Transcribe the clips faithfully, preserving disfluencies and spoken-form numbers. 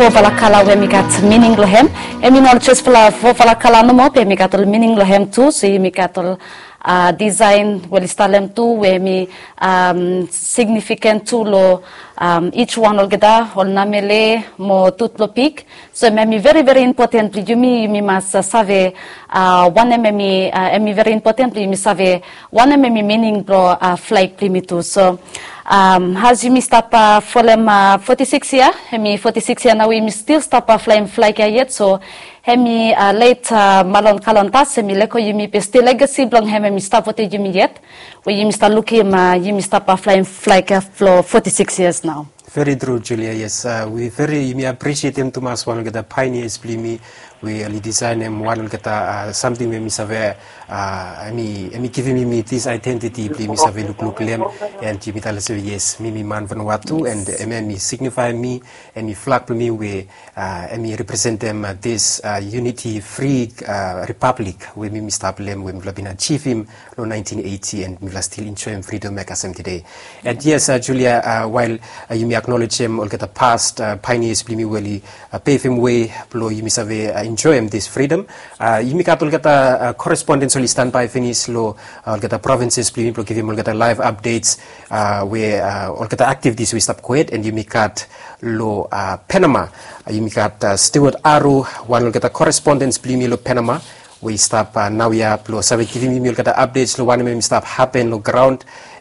Fofala kala we mi gat mining long hem. Em i no ol jes fala fofala kala nomo, be mi gat ol mining long hem tu. So yumi gat ol uh, disaen we oli stalem tu we mi um, signifiken tu lo um, each one olgeta ol namele mo tut lo pik. So em i very very important blo yumi, yumi mas uh, save uh, wanem em i uh, em i very important blo yumi save wanem em i mining blo uh, flag blo yumi tu. So um, as yumi stap uh, folem uh, forty-six year, em i forty-six year nao we yumi stil stap uh, flaem flag ya yet. So em i uh, late uh, Malon Kalontas, em i leko yumi be stil legacy blong hem em i stap wetem yumi yet. We yumi stap lukim uh, yumi stap uh, flaem flag ya flo forty-six years nao. Very true, Julia. Yes, uh, we very yumi appreciate em tumas wan olgeta pioneers blo yumi we oli design em wan olgeta uh, something we mi save uh, em i em i givim mi this identity blo yumi save lukluk lem. And yumi tale se yes, mi mi man Vanuatu and em em i signify mi, em i flag blo mi we uh, em i representem uh, this uh, unity free uh, republic we mi mi stap lem we mi fala bin achievim lo nineteen eighty and mifala stil enjoem freedom ya kasem tede. And yes, uh, Julia, uh, while uh, yumi acknowledgem olgeta past uh, pioneers blo yumi we oli uh, pevem way blo yumi save uh, enjoem this freedom, uh, yumi gat olgeta uh, correspondents oli standby finis lo uh, olgeta provinces blo yumi blo givim olgeta live updates uh, we uh, olgeta activities we stap gohed. And yumi gat lo uh, Panama, uh, yumi gat uh, Stewart Aru, wan olgeta correspondents blo yumi lo Panama we i stap uh, naoia blo save givim yumi olgeta updates lo wanem em i stap hapen lo graon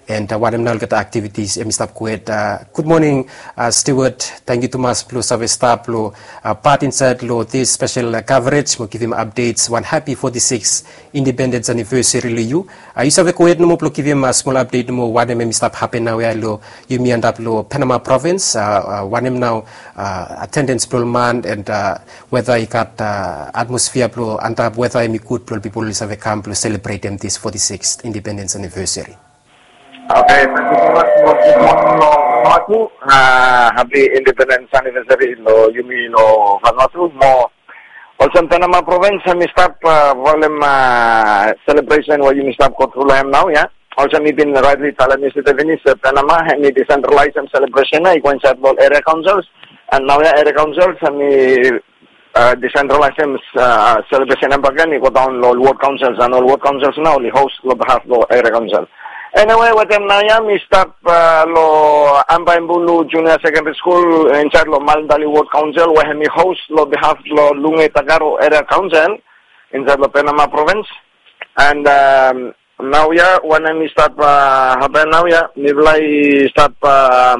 and uh, wanem nao olgeta activities em i stap gohed. Uh, good morning uh, Stewart, tangkiu tumas blo save stap lo uh, pat insaed lo this special uh, coverage mo givim updates. Wan happy forty-six independence anniversary lo yu. Uh, yu save gohed nomo blo givim uh, smol update nomo wanem em i stap hapen naoia lo yumi antap lo Panama province, uh, uh, wanem nao uh, attendance blo ol man and uh, whether i gat uh, atmosphere blo antap whether em i gud blo ol pipol oli save kam blo selebretem this forty-sixth independence anniversary. Okay, thank you so much. Mo good morning lo Vanuatu. Uh, happy independence anniversary lo yumi lo Vanuatu. Mo olsem Panama province em i stap uh, folem uh, celebration we yumi stap go tru lo hem naoia. Olsem mi bin rightly talem yestede finis, Panama em i decentralized celebration ya i go insaed lo area councils. And naoia area councils em i uh, decentralized uh, celebration ya bakegen i go daon lo ol ward councils and ol ward councils nao oli host lo behalf lo area council. Anyway, wetem naoia mi stap uh, lo Ambaibulu Junior Secondary School insaed lo Malndali Ward Council we em i host lo behalf lo Lunge Takaro Area Council insaed lo Panama province. And um, naoia wanem i stap uh, hapen naoia, mifala i stap uh,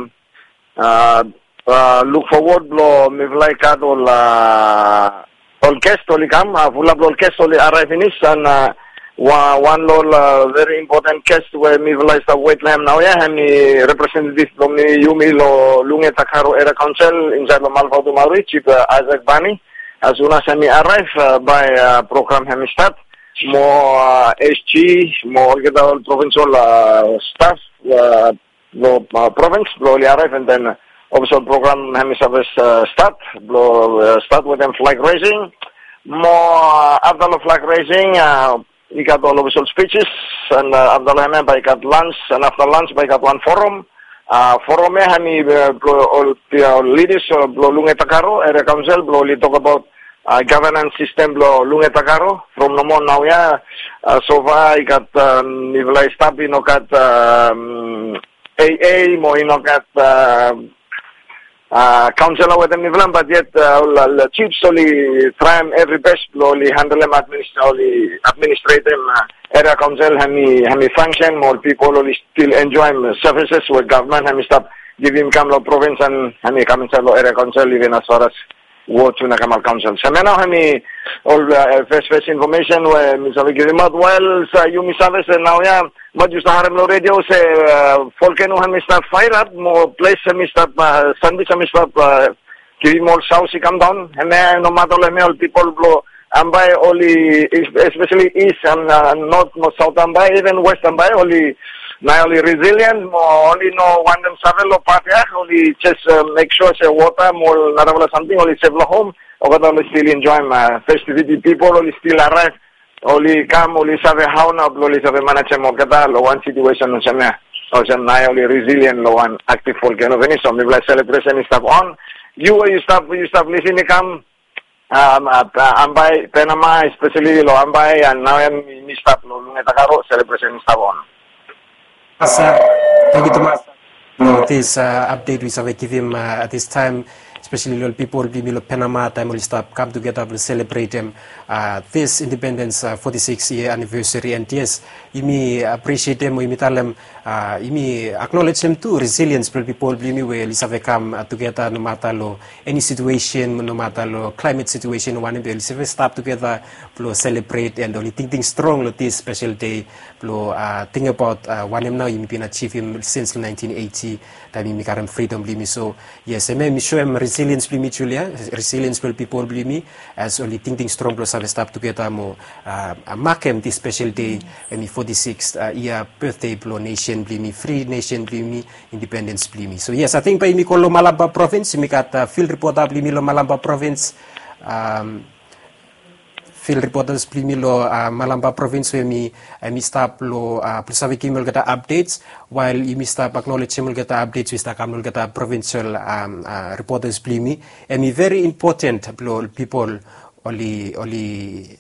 uh, uh, look forward blo mifala i gat ol uh, ol guest oli kam, uh, fulap lo ol guest oli arrive finis and uh, wa- wan lo ol uh, very important guest we mifala i stap wet lo hem naoia, em i representative blo mi yumi lo Lunge Takaro Area Council insaed lo Malvatumauri, Chief uh, Isaac Bani. As soon as em i arrive uh, bae uh, program em i start mo uh, S G mo olgeta ol provincial uh, staff uh, lo uh, province blo oli arrive and then uh, official program em i save uh, start blo uh, start wetem flag raising. Mo uh, afta lo flag raising uh, i gat ol official speeches and uh, afta lo hemia bae i gat lunch and afta lunch bae i gat wan forum. Uh, forum ya em i uh, blo ol uh, leaders uh, blo Lunge Takaro Area Council blo oli tokbaot uh, governance system blo Lunge Takaro from nomo naoia. Uh, so far i gat uh, mifala i stap i no gat um, A A mo i no gat uh, uh, council wetem mifala, but yet uh, ol uh, chiefs oli traem every best blo oli handlem administ- oli administratem uh, area council em i em i function mo ol pipol oli stil enjoem services we government em i stap givim kam lo province and em i kam insaed lo area council even as far as ward tu na Kamal Council. So hemia nao em i ol uh, first first information we mi save givimaot. While uh, yumi save se naoia maet yu stap harem lo radio se uh, volcano em i stap fire up mo ples em i stap uh, sandwich em i stap uh, givim ol sauce i kam daon. Hemia no mata ol hemia ol pipol blo Ambae oli especially east and uh, north mo south Ambae, even west Ambae oli naoia oli resilient mo oli no wantem save lo pat ya, oli just uh, make sure se wota mo narafala samting oli sef lo hom. Olgeta oli stil enjoem uh, festivity, pipol oli stil arrive, oli kam, oli save hao nao blo oli save manejem olgeta lo wan situation olsem ya. Olsem naoia oli resilient lo wan active volcano finis, so mifala selebresen i stap on. Yu we yu stap yu stap lisin i kam, um, at uh, Ambae, Penama, especially lo Ambae, and nao em mi stap lo Lunge Takaro celebration i stap on. Asa, thank you tumas. No, this uh, update we save givim uh, at this time, especially lo people blong yumi lo Penama, taem oli stap kam tugeta blong celebratem uh, this independence uh, forty-six year anniversary, and yes, yumi appreciatem o yumi talem uh, yumi acknowledgem tu resilience blong people blong yumi we oli save kam uh, tugeta nomata lo any situation, nomata lo climate situation wanem be oli save stap tugeta blong celebrate and oli tingting strong lo this special day blong uh, think about uh, wanem nao yumi bin achievem since nineteen eighty taem yumi karem freedom blong yumi. So yes, em mi shoem resilience blong yumi, Julia, resilience blong people blong yumi as oli tingting strong blong save stap tugeta mo uh, makem this special day, em i forty-six uh, year birthday blong nation blong yumi, free nation blong yumi, independence blong yumi. So yes, I think bae yumi go lo Malampa province, yumi gat uh, field reporter blong yumi lo Malampa province. Um, field reporters blong yumi lo uh, Malampa province we mi uh, mi stap lo uh, blong save givim olgeta updates, while yumi stap acknowledgem olgeta updates we stap kam lo olgeta provincial um, uh, reporters blong yumi. Em i very important blong people oli oli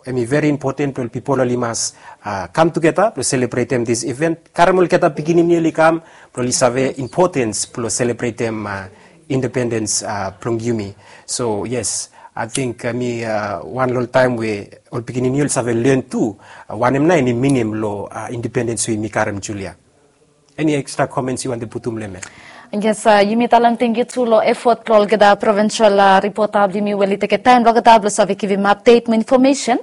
em i very important blong people oli mas uh, kam tugeta blong celebratem this event, karem olgeta pikinini oli kam blong oli save importance blong celebratem uh, independence uh, blong yumi. So yes, I think uh, mi uh, wan lo ol taem we ol pikinini oli save learn tu uh, wanem nao em i minim lo uh, independence we yumi karem, Julia. Any extra comments yu wantem putum lo em? Yes, uh, yumi talem tangkiu tu lo effort blo olgeta provincial uh, reporter blo yumi we oli tekem taem blo olgeta blo save givim update mo information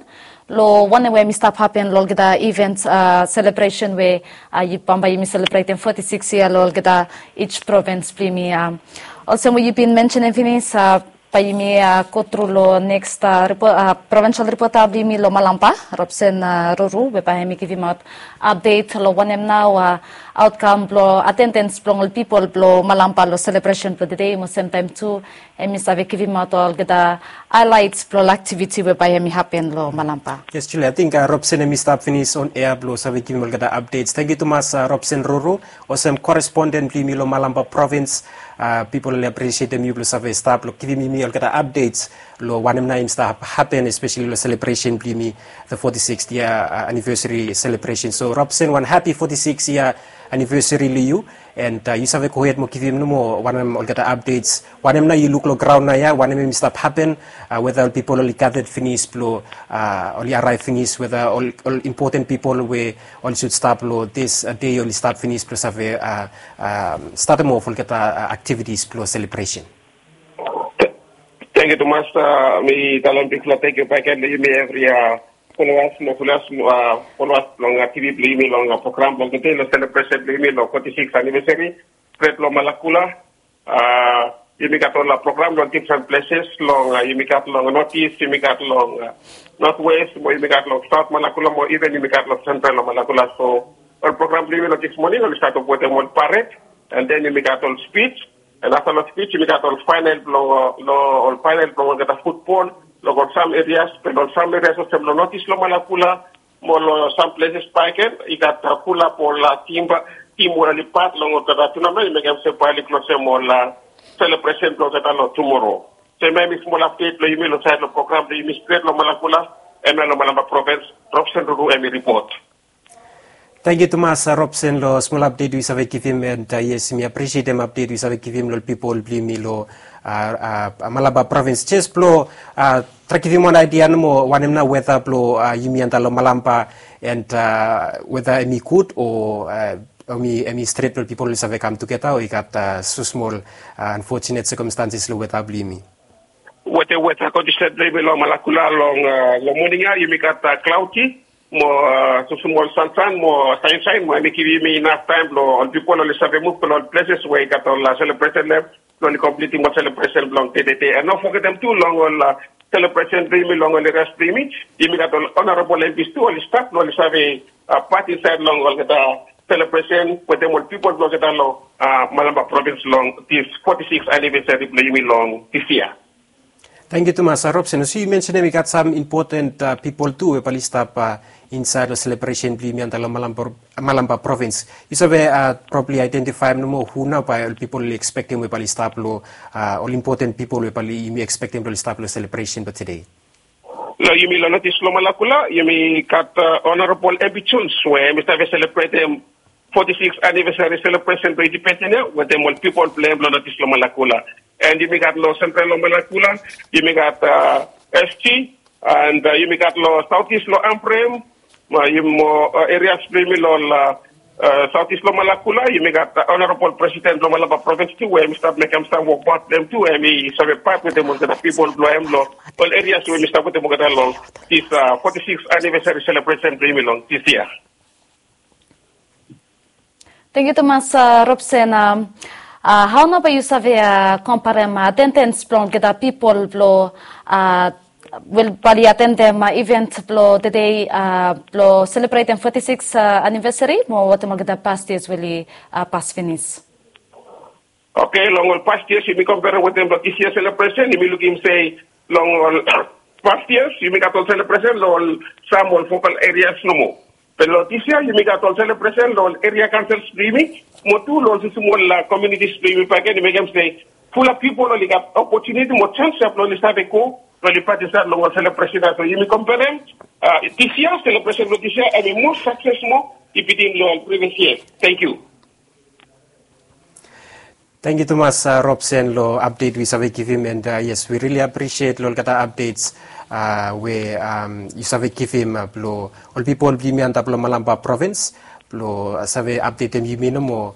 lo wanem we hemi stap hapen lo olgeta event uh, celebration we uh, bambae yumi celebratem forty-six year lo olgeta each province blo yumi. Um, olsem we yu bin mentionem finis, uh, bae yumi uh, go tru lo next uh, repo- uh, provincial reporter blo yumi lo Malampa, Robson uh, Ruru, we bae hemi givimaot update lo wanem nao uh, outcome blo attendance blo ol pipol blo Malampa lo celebration blo today, mo semtaem tu hemi save givimaot olgeta highlights blo ol activity we bae hemi hapen lo Malampa. Yes, Julia, I think uh, Robson hemi stap finis on air blo save givim olgeta updates. Tangkiu tumas uh, Robson Ruru, olsem correspondent blo yumi lo Malampa province. Uh, pipol oli appreciatem yu blo save stap lo givim yumi olgeta updates lo wanem nao hemi stap hapen, especially lo celebration blo yumi, the forty-sixth year uh, anniversary celebration. So Robson, wan happy forty-six year anniversary lo yu. And uh, yu save gohed mo givim nomo wanem olgeta updates, wanem nao yu luk lo graon naoia, wanem hemi stap hapen, uh, weta ol pipol oli gathered finis blo uh, oli arrive finis, weta ol, ol important pipol we oli should stap lo this uh, day oli stap finis blo save uh, um, statem of olgeta uh, activities blo celebration. Tangkiu tumas, uh, mi talem bigfala tangkiu bakegen lo yumi evri uh, followers mo followers uh, followers long uh, T V blo yumi long uh, program blo tede lo celebration blo yumi lo forty-six anniversary. Stret lo Malakula. Uh, yumi gat ol uh, program long different places long uh, yumi gat long Northeast, yumi gat long uh, Northwest, mo yumi gat long South Malakula, mo even yumi gat long Central lo Malakula. So ol program blo yumi lo this morning oli start off wetem ol parade, and then yumi gat ol speech, and afta lo speech yumi gat ol final blo uh, lo ol final blo olgeta football lo ol sam areas, be lo ol sam areas olsem lo Northeast lo Malakula, mo lo sam places bakegen i gat uh, fulap ol uh, team, team we oli pat long olgeta tournament i mekem se bae oli klosem ol uh, celebration blo olgeta lo tumoro. So hemia hemi smol update blo yumi lo saed lo program blo yumi stret lo Malakula. Hemia lo Malampa province, Robson Ruru hemi report. Tangkiu tumas uh, Robson lo smol update we yu save givim, and uh, yes, mi appreciatem update we yu save givim lo ol pipol blo yumi lo uh, uh, Malampa province. Jes blo uh, trae givim wan idea nomo wanem nao weta blo uh, yumi antap lo Malampa, and uh, weta hemi gud o uh, hemi, hemi stret blo pipol oli save kam tugeta, o i gat uh, so smol uh, unfortunate circumstances lo weta blo yumi. Weta, weta condition blo yumi lo Malakula long uh, lo moning ia, yumi gat uh, cloudy mo uh, so smol sansan mo sunshine, mo hemi givim yumi enough taem blo ol pipol oli save muv blo ol places we i gat ol uh, celebration lo blo oli completem ol celebration blo tede. And no fogetem tu long ol uh, celebration blo yumi long ol areas blo yumi, yumi gat ol honorable M Ps tu oli stap blo oli save uh, pat insaed long olgeta celebration wetem ol pipol blo olgeta lo uh, Malampa province long this forty-six anniversary blo yumi long this year. Tangkiu tumas, Robson. Olsem yu mensenem i gat sam impoten pipol tu we bae oli stap insaed long selebresen blong yumi antap long Malampa provins. Yu save probabli aedentifaem nomo hu nao bae ol pipol oli ekspektem we bae oli stap long, ol impoten pipol we bae yumi ekspektem blong oli stap long selebresen blong tede? Long yumi long North East Lomalakula, yumi gat Honorable M P Jones we hemi save selebretem foti siks anivesari selebresen blong indipenden ya wetem ol pipol blong hem long North East Lomalakula. And yumi gat long Central Lomalakula, yumi gat S G, and yumi gat long South East long Ambrym, mo erias blong yumi long South East Lomalakula, yumi gat Honorable President blong Malampa provins tu we hemi stap mekem sam wokbaot blong hem tu, hemi save pat wetem olgeta pipol blong hem long ol erias we hemi stap wetem olgeta long dis foti siks anivesari selebresen blong yumi long dis yia. Tangkiu tumas, Robson. Hao nao bae yu save komperem atendens blong olgeta pipol blong, wel, bae oli atendem iven blong tede blong selebretem foti siks anivesari mo wetem olgeta past yias we oli pas finis? Oke, long ol past yias yumi komperem wetem long dis yia selebresen, yumi lukim se long ol past yias yumi gat ol selebresen long ol sam ol fokal erias nomo. Be long dis yia yumi gat ol selebresen long ol eria kaonsels blong yumi mo tu long ol smosmol komiunitis blong yumi bakegen, i mekem se fulap pipol oli gat opotuniti mo sans ya blong oli save go blong oli pat insaed long ol selebresen ya. So yumi komperem dis yia selebresen blong dis yia hemi moa sakses moa i bitim long ol privias yia. Tangkiu. Tangkiu tumas, Robson, long apdet we yu save givim, and yes, we really appreciate long olgeta apdets we yu save givim blong ol pipol blong yumi antap long Malampa provins blong save apdetem yumi nomo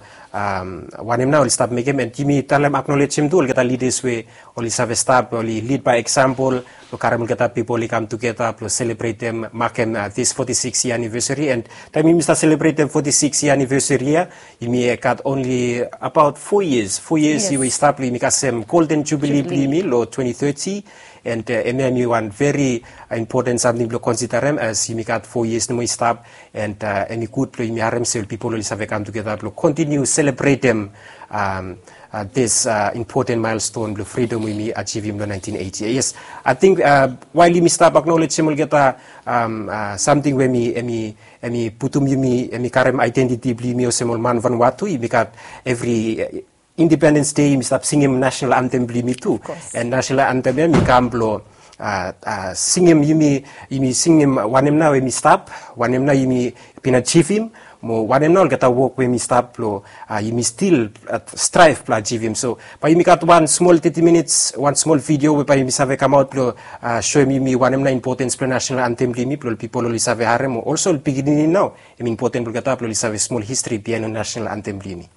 wanem nao oli stap mekem, and yumi talem, aknolejem tu olgeta lidas we oli save stap, oli lid bae eksampol blong karem olgeta pipol i kam tugeta blong selebretem, makem dis foti siks yia anivesari. And taem yumi stap selebretem foti siks yia anivesari ya, yumi gat onli abaot fo yias, fo yias we i stap long yumi kasem Golden Jubili blong yumi long twenti teti. And hemia hemi wan veri impoten samting blong konsiderem as yumi gat fo yias nomo i stap. And hemi gud blong yumi harem se ol pipol oli save kam tugeta blong kontiniu selebretem dis impoten maelston blong fridom we yumi ajivim long naentin eiti. Yes, ating wael yumi stap aknolejem olgeta samting we hemi, hemi putum yumi, hemi karem aedentiti blong yumi olsem ol man Vanuatu, yumi gat evri Independens Dei yumi stap singim nasenal antem blong yumi tu. And nasenal antem ya hemi kam blong singim yumi, yumi singim wanem nao hemi stap, wanem nao yumi bin ajivim, mo wanem nao olgeta wok we hemi stap blong yumi stil straev blong ajivim. So bae yumi gat wan smol teti minits, wan smol vidio we bae yumi save kamaot blong soem yumi wanem nao impotens blong nasenal antem blong yumi blong ol pipol oli save harem, mo olso ol pikinini nao hemi impoten blong olgeta blong oli save smol histri biaen long nasenal antem blong yumi.